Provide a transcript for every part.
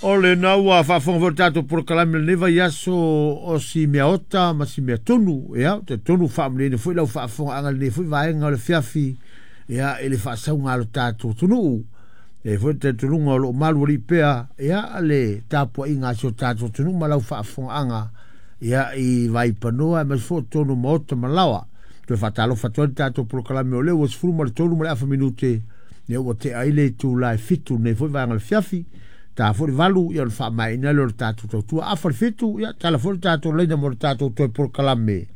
O lena ua faafofoga foi le tatou polokalame i lenei vaiaso o si meaota ma si meatonu. Ia, ou te talitonu ua faamalieina foi lau faafofogaaga i lenei foi vaega o le afiafi, ia, i le faasauga a lo tatou atunuu. E i ai foi le talitonuga o lo o malualii pea, ia, le tapuaiga a si o tatou atunuu ma lau faafofogaaga, ia, i Vaipanoa aemaise foi o totonu o maota ma laoa. Toe faatalofa atu ai le tatou polokalame o lea ua 13 ma le afa minute, ia ua tea ai le itula e 7 i lenei foi vaega o le afiafi. Ta foi le 8, ia ona faamaeaina lea o le tatou tautua. Afa le 7, ia tala foi le tatou laina mo le tatou toe polokalame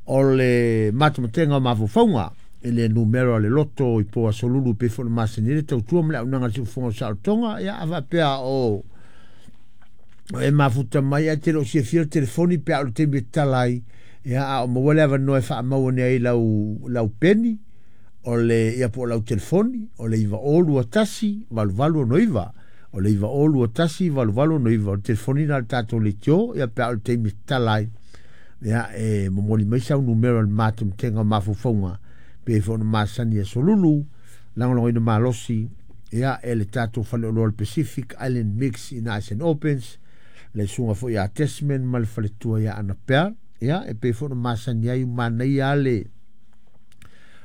o le matamatega o mafaufauga i le numera o le loto i po aso lulu pei foi ona masani ai le tautua ma le auaunaga a le siufofoga o Saolotoga. Ia a faapea o e mafuta mai ae te le o silafia le telefoni pe a o le taimi e tatala ai, ia a o maua le avanoa e faamau ane ai lau peni o le ia po o lau telefoni o le 9021 8869 o le 9021 8869 o le telefoni lena a le tatou leitio ia pe a o le taimi e tatala ai ia e momoli mai sau numera o le matematega o mafaufauga pei foi ona masani aso lulu lagolagoina malosi ia e le tatou faleoloa o le Pacific Island Mix ina Ice and Opens le susuga foi ia Desmond ma le faletua ia Anapea ia e pei foi ona masani ai manaia le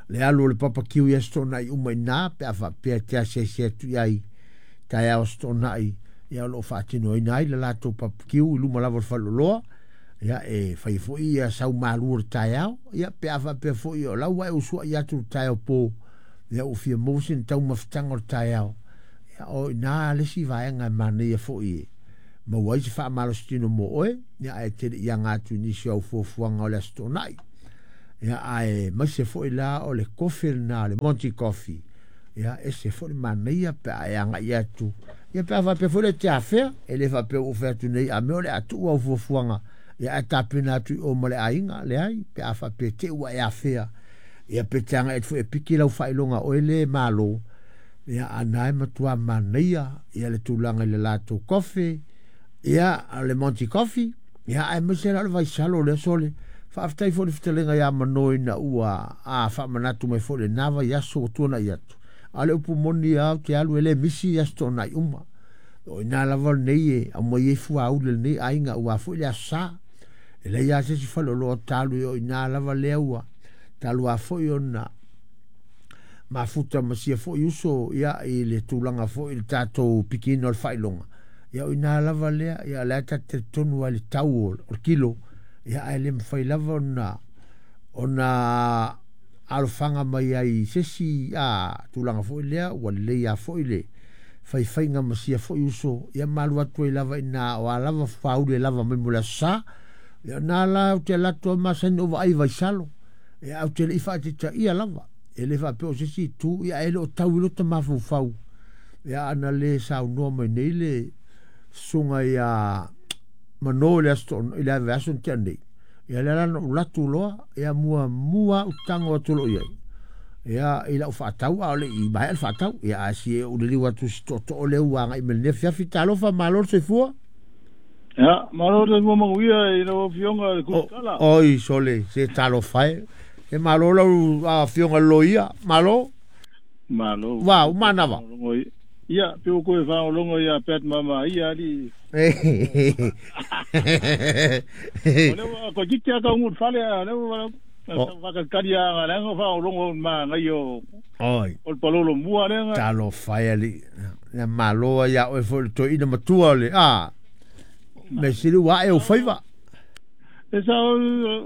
le alu o le papa kiu i Aso Toonai uma i ina pe a faapea e te asiasi atu i ai taeao Aso Toonai ia o lo o faatinoina ai le latou papa kiu i luma lava o le faleoloa ia e fai foi ia sau malu o le taeao ia pe a faapea foi o lau ua e usuai atu le taeao po ia ua fia maua sina taumafataga o le taeao ia o ina le isi vaega e manaia foi e maua ai se faamalositino mo oe ia ae te le i aga atu i nisi o au fuafuaga o le Aso Toonai. Ia aemaise foi la o le kofi lena le Monty Coffee. Ia ese foi le manaia pe a e agai atu. Ia pe a faapea foi le te afea, e le faapea ua ou fai atu nei a mea o le a tuu au fuafuaga. Ia ae tapena atu i o ma le aiga, leai, pe a faapea te ua e afea. Ia pe te agai atu foi e piki lau faailoga oe le malo. Ia a na e matua manaia ia le tulaga i le latou kofi. Ia le Monty Coffee. Ia, aemaise la o le vaisalo lea, sole. Faafetai foi i le fetalaiga ia Mano ina ua a faamanatu mai foi lena vaiaso ua tuanai atu. A o le upu moni lava ou te alu e le misi i Aso Toonai uma. O i ina lava lenei e aumai ai fuauli a lenei aiga aua foi le Aso Sa. E leai lava se isi faleoloa o ta alu i o ina lava lea ua talu lava foi ona mafuta ma sia foi uso ia i le tulaga foi i le tatou pikiina o le faailoga. Ia o ina lava lea, ia o lea ta te talitonu lava i le tau o le kilo, ia ae le mafai lava ona alofaga mai ai i se isi tulaga foi lea, ua lelei lava foi le faifaiga ma sia foi uso, ia ma alu atu ai lava i ina o a lava fuauli e lava mai mo le Aso Sa. Ia o na la ou te alu atu ai masani ona ou vaai i Vaisalo, ia ae ou te le i faataitaia lava, e le faapea o se isi itu, ia ae le o tau i lota mafaufau. Ia ana le saunoa mai nei le susuga ia Mano i le aso i le vaiaso na tea nei. Ia lea la na ou latu loa, ia muamua au tago atu loa i ai. Ia i lau faatau a o le i maea le faatau. Ia ae si e ou liliu atu si tootoo lea ua agai mai lenei afiafi. Talofa, malo le soifua. Ia, malo le soifua manuia i lau Afioga i le Tusitala. Oi, sole, se talofa e. E malo lau Afioga i le Loia, malo. Malo. Ua uma manava. Ia, pe ua koe faalogologo ia Pat Mama ia alii. O lea ua toeitiiti lava taunuu i le fale, a o lea ua faatalitali lava leaga o faalogologo i le manaia o le palolo mua lea. Talofa e alii. Ia malo ai ia oe foi le toeaina matua o le a. Mea sili ua ae ou faiva. E sao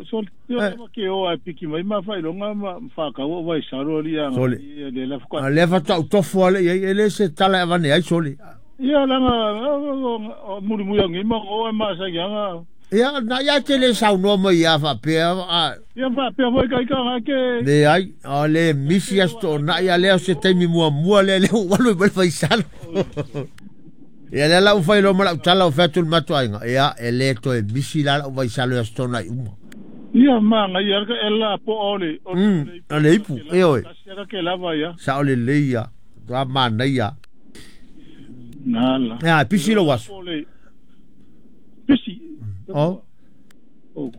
sole io ma ke o ai piki mai ma faailoga ma whakau o vaisalo ali a Sole. Le la A lea faatoa ou tofu ale i ai, e le se tala e avane ai sole. Ia langa muli muli angi ma o e ma sa ianga. Ia na ia te le saunoa mai ia faapea a. Ia faapea foi kai ka ga ke. Leai, o le misi Aso Toonai a lea o se taimi muamua lea lea ua alu ai mai le vaisalo. Ia lea la ua fai loa ma lau tala ua fai atu i le matou aiga, ia e le toe misi la lau vaisalo i Aso Toonai uma. Ia manaia lava e la poa o le o le o le ipu, ioe. Tasi lava ke lava ia. Sao lelei ia, matua manaia. Nala. Ia, pisi lou aso. Pisi. Oh. Oh.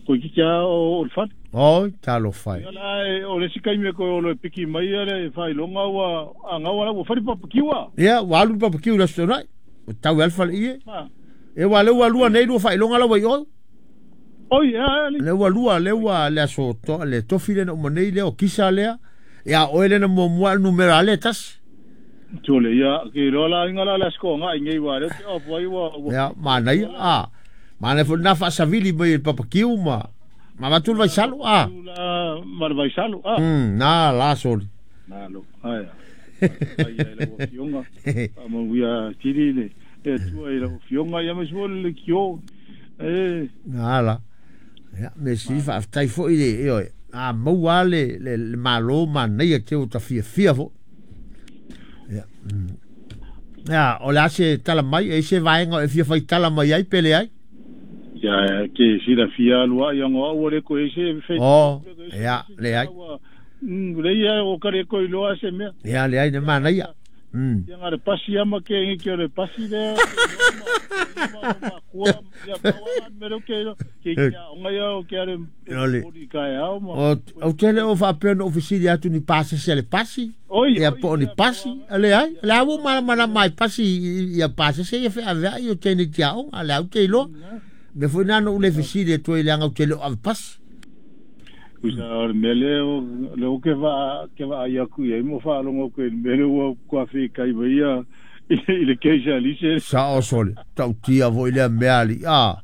Toeitiiti lava o le fale. Oi, talofa e. Ia la o le isi taimi e toe olo e piki mai le faailoga ua angau ala ua fai le papakiu a. Ia, ua alu le papakiu i le Aso Toonai. O tau e alfa le ie. E ua le ua lua nei lua faailoga la ua i oe. Oi, e Le ua lua, le ua le aso to, le tofi le na uma nei lea o kisa lea. Ia oe le na muamua le numera le tasi. Tole ia ke lo la inga la la sko nga ngai wa le te opo ai wa. Ia manaia a. Manaia foi na faasavili mai e le papakiu ma ma avatu le vaisalo a. La ma le vaisalo a. Na la soli. Na lo ai. Ai ai la fionga. Ma wia tili le e tua i la fionga ia me so le kio. E na la. Ia me si faafetai foi le e oe. A maua le le malo manaia te o ta fiafia fo. Ia. Ia, o le a se tala mai, e se vaega e fia faitala mai ai pe leai? Ia, ke sila fia lua ia ngoa ua le ko e se fe. Oh, ia, leai. Le ia o kare ko iloa se mea. Ia, leai na manaia. Ia ngā le pasi ama ke ngi ke o le pasi le. Kua ia pawa me lo ke ke kia onga ia o ke are o ka ao ma. O tele o faapea na ofisili atu ni pasese a le pasi. Ia po o ni pasi. Leai, le au malamalama mai pasi ia pasese ia feaveai o tēnei tiaoga, le au te iloa. Me foi nā no ule fesili atu ai leaga ou te le o ave pasi. Kusa o le mea lea le o ke va ai aku i ai mo whaalongo koe le mea lea ua kua whikai mai ia i le keisa lise. Sa o sole, tautia foi lea mea ali, a.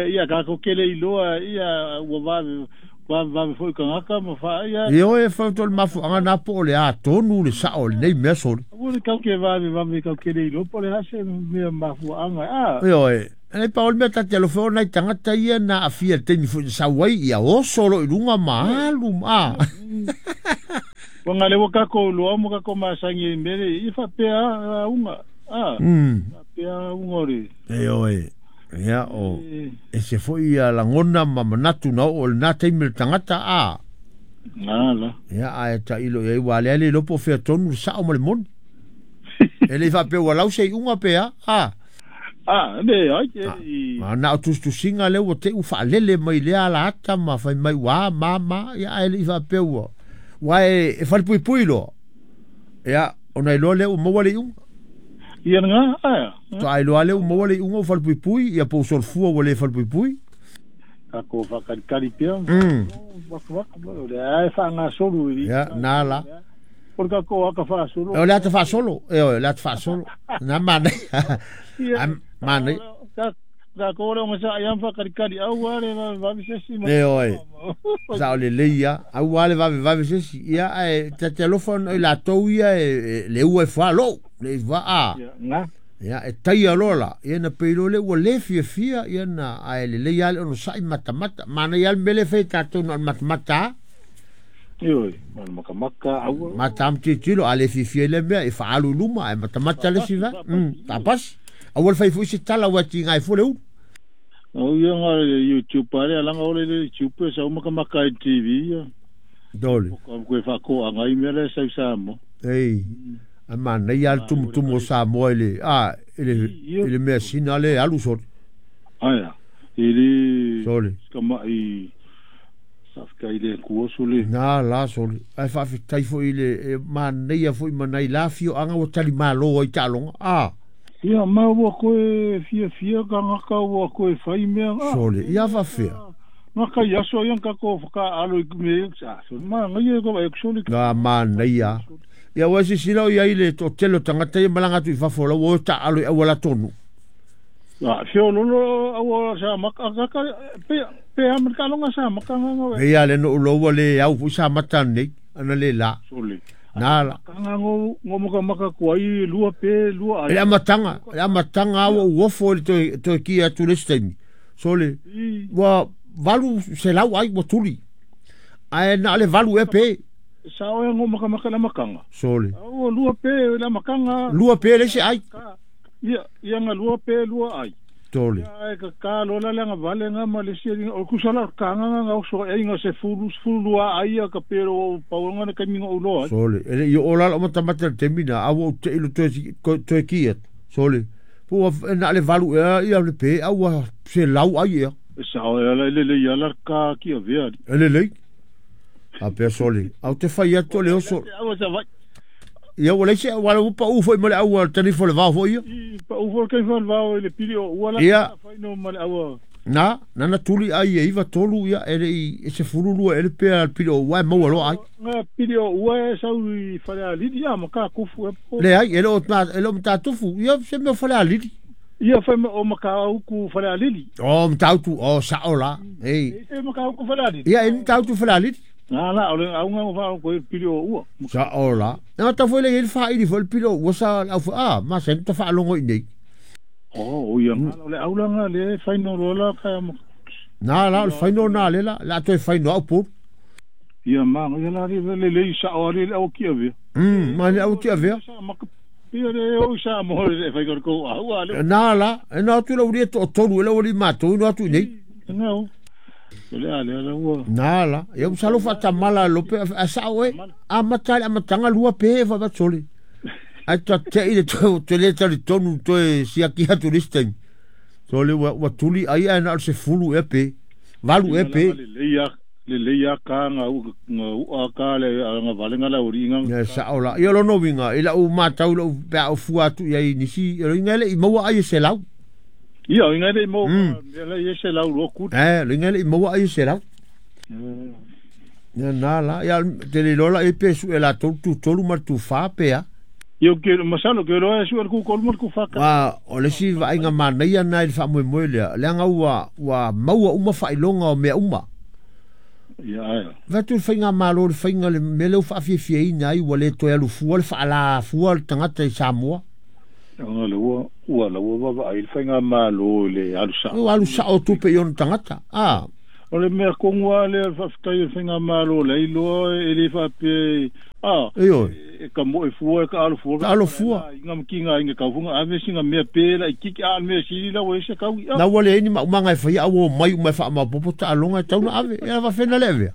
Ia kako kele iloa ia ua vave vave foi kangaka ma wha ia. Ia oe whauto le mafuanga nā po o le a tonu le sao o lenei mea sole. Ua le kau ke vave vave kau kele iloa po le hase mea mafuanga a. Ia oe. Nei pa o le mea tate alofa o nai tagata ia na afia le taimi foi na sau ai ia oso lo i luga ma alu ma a. Ua ngale ua kako loa mo kako masangi i mele i whapea unga. A. Whapea unga o le. E oe. Ia o e se foi ia lagona ma manatu na oo i lena taimi le tagata a. Nga la. Ia ae tailo i ai ua ale ale iloa po o fea tonu le sao ma le moni. E le i faapea ua lau se iuga pe a. A. A, le ai ke i. A na o tusitusiga lea ua te i ua faalele mai lea ala ata ma fai mai ua a ma ma, ia ae le i faapea ua, ua e, e falepuipui loa. Ia, ona iloa lea ua maua le iuga. Ia nga, aea. Faatoa iloa lea ua maua le iuga ua falepuipui, ia po o solofua ua le falepuipui. Kako whakalikali pea. Waka waka, o le ae whaangasolu i. Ia, nā la. O le kako aka whaasolo. O le ata whaasolo, e oe, le ata whaasolo. Nā mānei. Mānei. Ka kore o ngasa ai am whakalikali, au a le vave sesi. E oe, sa o le lei ia, au a le vave vave sesi. Ia, ae, ta te alofa ona i latou ia e le ua e wha lou, le i wha a. Ia, ngā. Ia, e taia loa la, ia na peilo le ua le fiafia, ia na, ae le lei a le ono sa'i matamata. Mānei a le mele whai tātou na o le matamata a. Ioi, mana makamaka, aua. Mata am titilo, a le fiafia i le mea, e whaalu luma, e matamata le si va. Tapasi. Aua le whai fui se tala ua ti ngai fo le ulu. Au ia ngā YouTube pare, alanga ole le YouTube sa makamaka i TV ia. Dole. O ka koe whako anga i mea le sau Samoa. Ei, a mānei a le tumutumu o Samoa i le, a, i le, i le mea sina le alu sole. Aia, i le Sole. Kama i safka i le kuoso le. Nā la sole. Ai whaafetai foi i le, e māneia foi manai la fio anga ua tali malo ai taaloga. A. Ia, ma ua koe fia fia ka ngaka ua koe whai mea. Sole, ia whawhea. Ngā kai aso ia ka ko whaka alo i me, a, sole, ma ngai e ko e sole. Ngā māneia. Ia ua sisila o ia i le to tele o tangata ia malanga atu i fafo la ua o ta alo i aua la tonu. A, fio lolo aua sa maka, ka, pe, pe a ka longa sa maka nga. E ia le no ulo ua le au fu sa mata nei, ana le la. Sole. Nā la. Ka nga ngo, ngo maka maka kua i lua pe, lua ai. Le amatanga aua uofo i le toe ki atu le staimi. Sole, ua valu se lau ai ua tuli. Ae na le valu e pe. Sa oe ngo maka maka la makanga. Sole. Aua lua pe la makanga. Lua pe le se ai. Ia, ia nga lua pe lua ai. Tole. Ia e ka ka lola le nga vale nga ma le si o kusala ka nga nga o so e nga se fulu fulu lua ai ia ka pero o pau nga na kai mingo o loa. Sole. Ele i o lalo mata mata le temina aua o te ilo toe ki atu. Sole. Po na le valu e ia le pe aua se lau ai ia. Sa o e ala le le ia la ka ki a vea. Ele le. A pea sole. Au te whai atu le oso. Aua sa vai. Ia ua leise, ua le upa u foi ma le aua tani fo le vao foi ia. Pau foi kai fan vao i le pili o ua la faino ma le aua. Na, nana tuli ai e iva tolu ia e le i e se fulu lua e le pea pili o ua e maua loa ai. Nga pili o ua e sau i fale alili ia ma ka kufu e po. Le ai, e le o matatufu, ia se mea fale alili. Ia fai o makauku fale alili. O matautu, o sao la. Ei. E makauku fale alili. Ia e matautu fale alili. Na la o le aunga o fa ko pili o ua. Sao la. Na ta foi le i whaili foi le pili o ua sa au fa, ma se ta whaalongo i nei. O ia ngā le aulanga le whaino lola ka Nā la, o le whaino nā le la, la toe whaino au pōru. Ia mā, ia la le le sa o le au ki avea. Ma le au ki avea. Ia le o sa mo le whai ko au a le. Nā la, e nā atu la uri e to tolu e la uri mātou ino atu i nei. Nā o. Le a le la ua. Nā la, ia usalo whatamala lope a sao e, a matale a matanga lua pe e whawatsole. Ai ta te i le te le tali tonu toe siaki atu this time. So le ua tuli ai ai na o se fulu e pe. Valu e pe. Le leia ka nga ua ka le nga valenga la uri nga. Ia sao la. Ia lono winga i la u matau la u pea o fua atu ia i nisi. Ia inga le i maua ai e se lau. Ia inga le i maua ia se lau lo kuta. Eh, inga le i maua ai e se lau. Ia nā la. Ia te le lola e pe su e la tolu tu tolu ma tu wha pea. Io ke masalo ke roa su ku kolu ku faka. Wa o le si vainga manaia na i fa moe lea. Leanga ua maua uma failonga o mea uma. Ia ai. Vatu fainga malo le fainga le mele fa fie ina ai ua le toe alu fua le fa la fua le tangata i Samoa. Anga le ua la ua va ai fainga malo le alu sa. Ua alu sa o tupe i ona tangata. Ah. O le mea kongua le faafetai fainga malo le iloa e le faapea Io. E ka mo e fua ka alu fua. Alu fua. Inga mkinga inga ka funga ave singa mea pela i kiki a mea sili la o se kau. Na ua le ni ma umanga e fai au mai uma fa ma popo ta alonga tau na ave. E va fena le ave.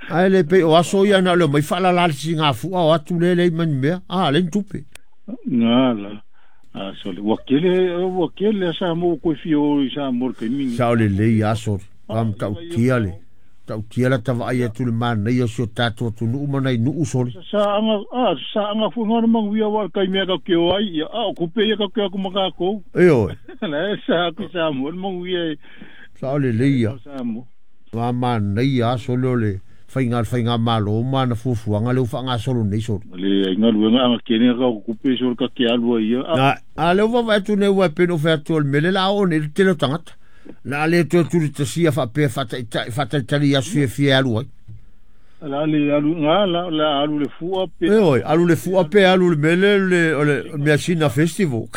Ai le pe o aso ia na le mai fa la la singa fua o atu le le man mea. Ah le tupe. Na la. Ah so le wakele sa mo ko fi o sa mo ke mingi. Sa le le ia so. Am tau tia le. Tau tia la tava ai atu le mana ia sio tātou atu nuu mana i nuu soli. Sa anga fuinga na manguia wa kai mea ka keo ai ia. A o kupe ia ka keo aku makako. E oe. La sa aku sa mo manguia. Sa o le leia. Sa mo. Wa mana ia soli o le whainga malo mana fufuanga le uwha ngā solo nei soli. Le inga luenga anga kene ka kupe soli ka ke alua ia. A le uwa atu ne ua peno whea atu o le mele la o ne tele tangata. La le toe tuli tasia whapea whataitari ia fia fia alu ai. La le alu ngā, la alu le fua pe. E oi, alu le fua pe, alu le mele, le Measina Festival.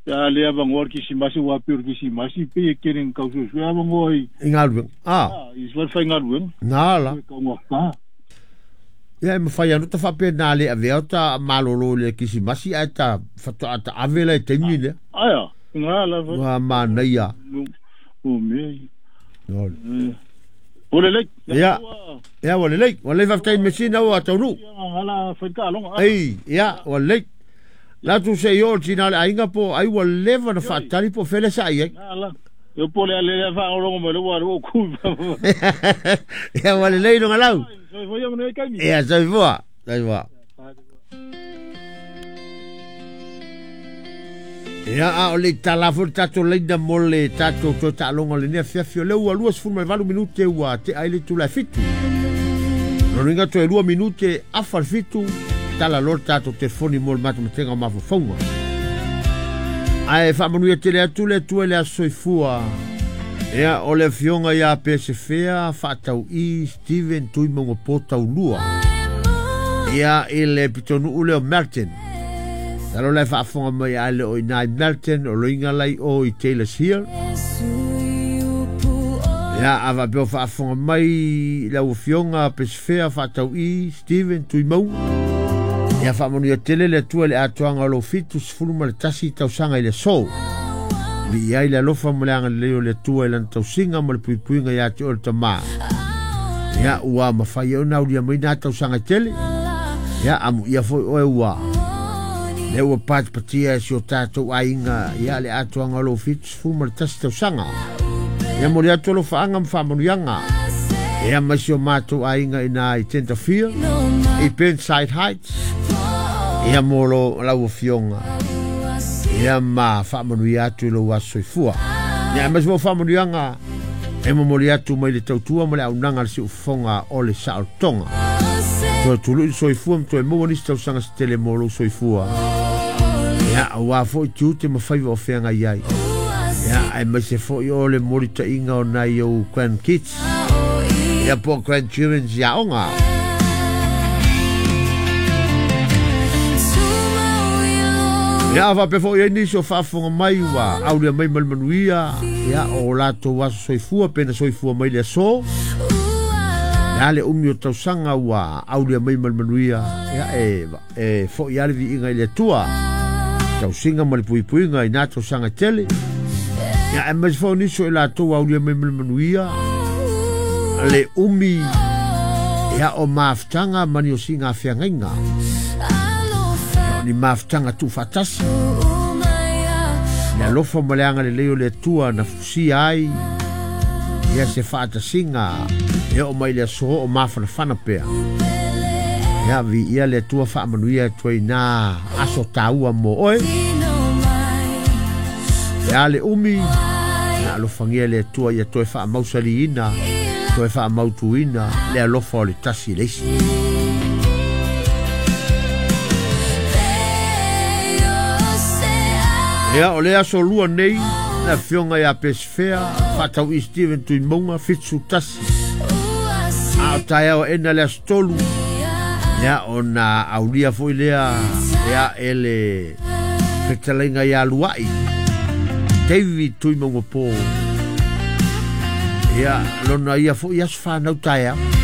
La le avangoa kisimasi, wapi o kisimasi, pe e kere ngau sui avangoa i. I ngā luenga, ah. I sua whai ngā luenga. Nā la. Ka ngā ka. Ia e mawhai anu ta whapea nā le avea o ta malolo le kisimasi, ai ta whatoa ta avela e teimi lea. Aia. Ngā la Ngā manaia. O mea. O le lei. Ia. Ia o le lei. O le whaftai mesina o ataunu. Ngā la whaika alonga. Ei, ia, o le lei. La tu se i o tina le ainga po, ai ua leva na whaatari po fele sa ai. Ngā la. Io po le ale wha olongo mai le wā o ku. Ia o le lei no ngalau. Ia, soifua. Soifua. Ia a o le talafo tātou leina mo le tātou toe taaloga le nea fiafi o le ua 28 minute ua te ai le tula fitu. Loninga toe 2 minute afa le fitu, tala loa le tātou telefoni mo le matamatenga o mafaufauga. Ae faamanuia tele atu le Atua i le aso soifua. Ia o le afioga ia Pesefea Faatau'i Steven Tuimaugapo Taulua. Ia i le pitonuu leo Melton. Talo lai faafoga mai a le o inā i Melton, o loiga lai o i Taylor's Hill. Ia a faapea o faafoga mai lau afioga Pesefea Faatau'i Steven Tuimauga. Ia faamanuia tele le Atua i le atoaga o lou 71 tausaga i le aso. Vi'i ai le alofa ma le agalelei o le Atua i lana tausiga ma le puipuiga iā te oe le tamā. Ia ua mafai ai ona aulia mai nā tausaga e tele. Ia amuia foi oe ua. Le ua patipatia e si o tātou aiga ia le atoaga o lou 71 tausaga. Ia mo le atu o lo whaanga ma whaamanuiaga. Ia mai si o mātou aiga ina i Tenterfield, i Burnside Heights, Ia mo lo lau afioga ia ma faamanuia atu i lou aso soifua. Ia aemaise foi o faamanuiaga e momoli atu mai le tautua ma le auaunaga a le siufofoga o le saolotoga. Toe tului le soifua ma toe maua nisi tausaga se tele mo lou soifua. Ia, aua foi tiute ma faiva o feagai ai. Ia, aemaise foi o le molitaiga o nai ou grandkids. Ia po o grandchildren i aoga. Ia, a faapea foi ai nisi o faafofoga mai ua aulia mai ma le manuia, ia, o latou aso soifua pe na soifua mai le aso. Ia le umi o tausaga ua aulia mai ma le manuia, ia, e, e foi lava le viiga i le Atua. Tausiga ma le puipuiga i nā tausaga e tele. Ia, aemaise foi o nisi o i latou ua aulia mai ma le manuia, le umi, ia, o mafutaga ma ni osiga feagaiga. Ia, o ni mafutaga tuufaatasi. Le alofa ma le agalelei o le Atua na fusia ai ia se faatasiga e oo mai le aso o mafanafana pea. Ia viia le Atua faamanuia atu ai nā aso taua mo oe. Ia le umi, ia alofagia le Atua ia toe faamausaliina, toe faamautuina le alofa o le tasi i le isi. Ia, o le aso lua nei, le afioga ia Pesefea, faatau'i Steven Tuimauga, 71. A o taeao aena le aso 3, ia, ona aulia foi lea, ia, e le fetalaiga ia Luai, David Tuimauga Po. Ia, lona ia foi aso whanau taeao.